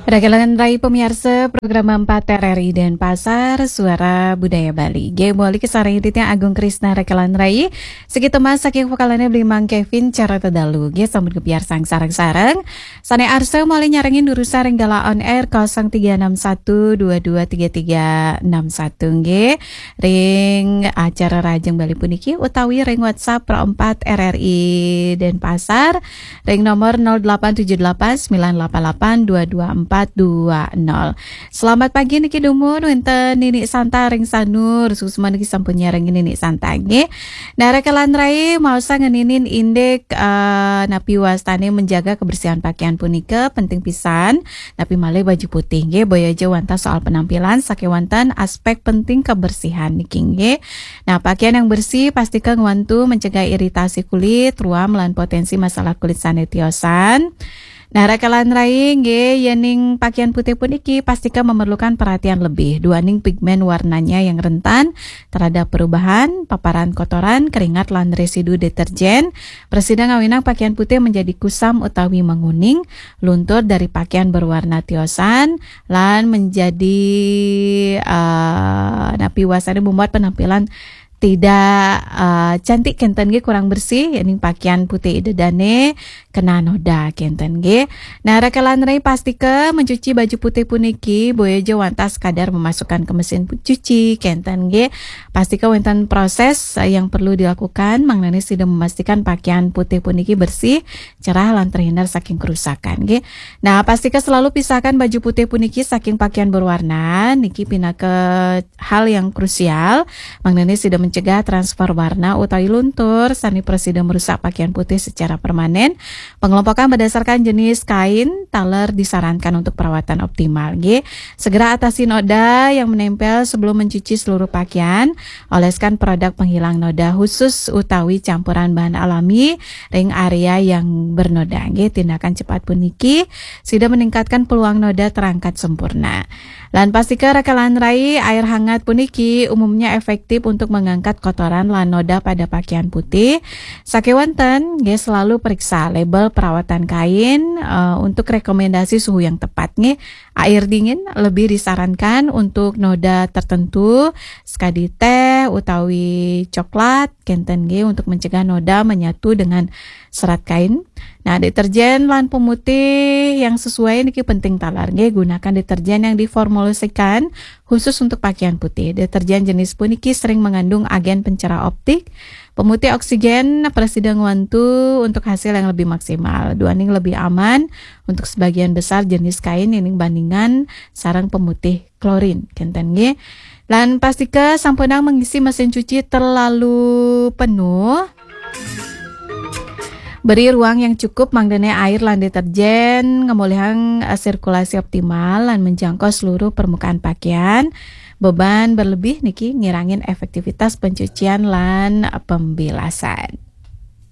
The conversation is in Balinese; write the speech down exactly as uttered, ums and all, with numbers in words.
Rekelan Rai pemiarsa program empat R R I Denpasar, Suara Budaya Bali. Nggih, mawali kasarengin titiang Agung Krisna Rekelan Rai. Saking Mas, saking vokalane beli Mang Kevin cara tedalu. Nggih, sampun kapiarsang sareng-sareng. Sane arsa mawali nyarengin durusang ring galah on air kosong tiga enam satu dua dua tiga tiga enam satu, nggih. Ring acara Rahajeng Bali puniki utawi ring WhatsApp Pro empat R R I Denpasar ring nomor nol delapan tujuh delapan sembilan delapan delapan dua dua empat dua nol. Selamat pagi niki dumun wenten Nini Santa ring Sanur, suksma niki sampun nyarengin Nini Santa nggih. Nah, Rekelan Rai maosang ngeninin indik, eh, napi wastane menjaga kebersihan pakaian punika penting pisan, napi malih baju putih nggih, boya ja wantah soal penampilan, sakewanten aspek penting kebersihan niki nggih. Nah, pakaian yang bersih pastika ngwantu mencegah iritasi kulit, ruam lan potensi masalah kulit sane tiosan. Nah, Rekelan Rai nggih, yening pakaian putih puniki pastika memerlukan perhatian lebih, duaning pigmen warnanya yang rentan terhadap perubahan, paparan kotoran, keringat lan residu deterjen, prasida ngawinang pakaian putih menjadi kusam utawi menguning, luntur dari pakaian berwarna tiosan, lan menjadi, eh, napi wastane membuat penampilan tidak, eh, cantik kenten nggih, kurang bersih, yening pakaian putih ida dane kena noda kenten nggih. Nah, Rekelan Rai pastika mencuci baju putih puniki boya ja wantah sekadar memasukkan ke mesin pu-, cuci kenten nggih. Pastika wenten proses, eh, yang perlu dilakukan, mangdane sida memastikan pakaian putih puniki bersih, cerah lan terhindar saking kerusakan nggih. Nah, pastika selalu pisahkan baju putih puniki saking pakaian berwarna, niki pinaka hal yang krusial, mangdane sida mencegah transfer warna utawi luntur sane prasida merusak pakaian putih secara permanen. Pengelompokan berdasarkan jenis kain taler disarankan untuk perawatan optimal nggih. Segera atasi noda yang menempel sebelum mencuci seluruh pakaian. Oleskan produk penghilang noda khusus utawi campuran bahan alami ring area yang bernoda nggih. Tindakan cepat puniki sida meningkatkan peluang noda terangkat sempurna. Lan pastika Rekelan Rai, air hangat puniki umumnya efektif untuk mengangkat kotoran lan noda pada pakaian putih. Sakewanten nggih, selalu periksa label perawatan kain, eh, untuk rekomendasi suhu yang tepat nggih. Air dingin lebih disarankan untuk noda tertentu, sekadi teh utawi coklat kenten nggih, untuk mencegah noda menyatu dengan serat kain. Nah, deterjen lan pemutih yang sesuai niki penting taler nggih. Gunakan deterjen yang diformulasikan khusus untuk pakaian putih. Deterjen jenis puniki sering mengandung agen pencerah optik, pemutih oksigen, prasida ngwantu untuk hasil yang lebih maksimal. Duaning lebih aman untuk sebagian besar jenis kain yening bandingan sareng pemutih klorin kenten nggih. Lan pastika sampunang mengisi mesin cuci terlalu penuh. Beri ruang yang cukup mangdane air lan deterjen ngemolihang, eh, sirkulasi optimal lan menjangkau seluruh permukaan pakaian. Beban berlebih niki ngirangin efektivitas pencucian lan, eh, pembilasan.